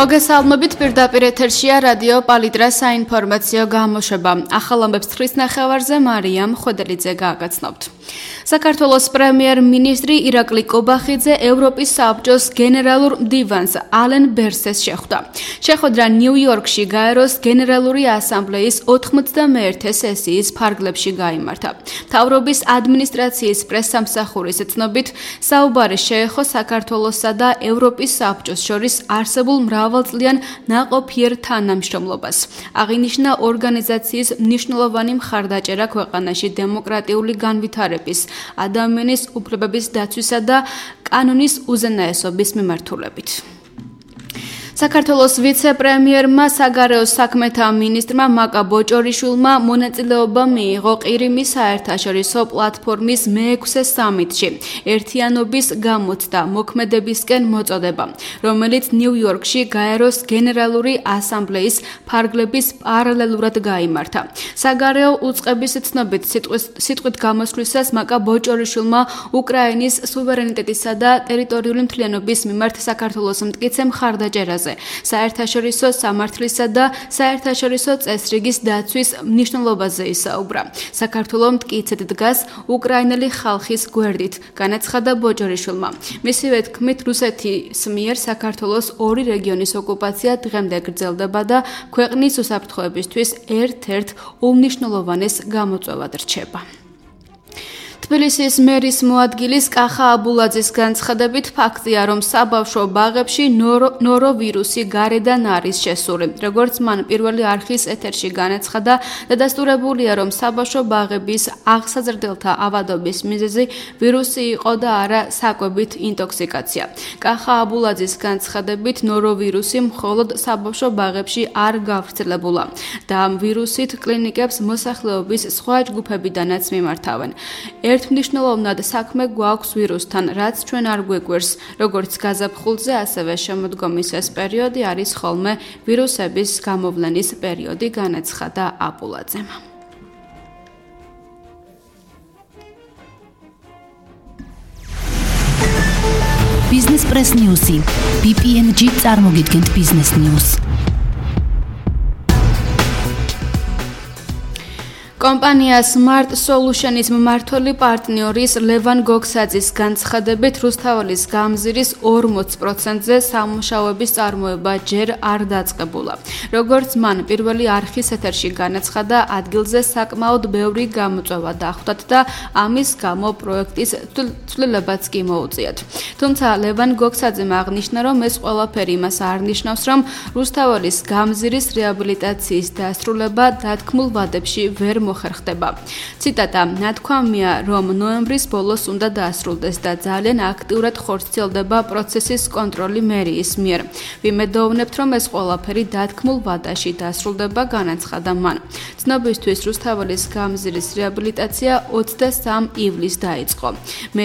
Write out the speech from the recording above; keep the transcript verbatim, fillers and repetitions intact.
მოგესალმებით, პირდაპირ ეთერშია რადიო პალიტრას საინფორმაციო გამოშვება. ახალ ამბებს თხრის ნახევარზე მარიამ ხვედელიძე გააგაცნობთ. საქართველოს პრემიერ-მინისტრი ირაკლი კობახიძე ევროპის საბჭოს გენერალურ მდივანს ალენ ბერსეს შეხვდა. შეხვედრა ნიუ-იორკში გაეროს გენერალური ასამბლეის ოთხმოცდამეერთე სესიის ფარგლებში გაიმართა. მთავრობის ადმინისტრაციის პრესსამსახურის ცნობით, საუბარი შეეხო საქართველოსსა და ევროპის საბჭოს შორის არსებულ მრავალწლიან ნაყოფიერ თანამშრომლობას. აღინიშნა ორგანიზაციის მნიშვნელოვანი მხარდაჭერა ქვეყანაში დემოკრატიული განვითარების, ადამიანის უფლებების დაცვისა და კანონის უზენაესობის მიმართულებით. საქართველოს ვიცე-პრემიერმა საგარეო საქმეთა მინისტრმა მაკა ბოჭორიშვილმა მონაწილეობა მიიღო ყირიმის საერთაშორისო პლატფორმის მეექვსე სამიტში ერთიანობის გამოცდა მოქმედებისკენ მოწოდება, რომელიც ნიუ-იორკში გაეროს გენერალური ასამბლეის ფარგლების პარალელურად გაიმართა. საგარეო უწყების ცნობით სიტყვით გამოსვლისას მაკა ბოჭორიშვილმა უკრაინის სუვერენიტეტისა და ტერიტორიული მთლიანობის მიმართ საქართველოს მტკიცე მხარდაჭერაზე, საერთაშორისო სამართლისა და საერთაშორისო წესრიგის დაცვის მნიშვნელობაზე ისაუბრა. საქართველო მტკიცედ დგას უკრაინელი ხალხის გვერდით, განაცხადა ბოჭორიშვილმა. მისივე თქმით, რუსეთის მიერ საქართველოს ორი რეგიონის ოკუპაცია დღემდე გრძელდება და ქვეყნის უსაფრთხოებისთვის ერთ-ერთ უმნიშვნელოვანეს გამოწვევად რჩება. თბილისის მერის მოადგილის კახა აბულაძის განცხადებით ფაქტია, რომ საბავშვო ბაღებში ნოროვირუსი გარედან არის შესული. როგორც მან პირველი არხის ეთერში განაცხადა, დადასტურებულია, რომ საბავშვო ბაღების აღსაზრდელთა ავადობის მიზეზი ვირუსი იყო და არა საკვებით ინტოქსიკაცია. კახა აბულაძის განცხადებით, ნოროვირუსი მხოლოდ საბავშვო ბაღებში არ გავრცელებულა და ამ ვირუსით კლინიკებს მოსახლეობის სხვა ჯგუფებიდანაც მიმართავენ. ერთმნიშვნელოვნად საქმე გვაქვს ვირუსთან, რაც ჩვენ არ გვეკვირს, როგორც გაზაფხულზე, ასევე შემოდგომის ეს პერიოდი არის ხოლმე ვირუსების გამოვლენის პერიოდი, განაცხადა აბულაძემ. Business Press News. ბი პი εν ჯი წარმოგიდგენთ Business News. კომპანია Smart Solutions მმართველი პარტნიორის ლევან გოგსაძის განცხადებით, რუსთაველის გამზირის ორმოც პროცენტზე სამუშაოების წარმოება ჯერ არ დაწყებულა. როგორც მან პირველი არხის ეთერში განაცხადა, ადგილზე საკმაოდ ბევრი გამოწვევა დახვდათ და ამის გამო პროექტის ცვლილებაც კი მოუწიათ. თუმცა ლევან გოგსაძემ აღნიშნა, რომ ეს ყველაფერი იმას არ ნიშნავს, რომ რუსთაველის გამზირის რეაბილიტაციის დასრულება დათქმულ ვადებში ვერ მოხერხდება. ციტატა: ნათქვამია, რომ ნოემბრის ბოლოს უნდა დაასრულდეს და ძალიან აქტიურად ხორციელდება პროცესის კონტროლი მერიის მიერ. ვიმედოვნებთ, რომ ეს ყველაფერი დათქმულ ვადაში დასრულდება, განაცხადა მან. ცნობისთვის, რუსთაველის გამზირის რეაბილიტაცია ოცდასამ ივლისს დაიწყო.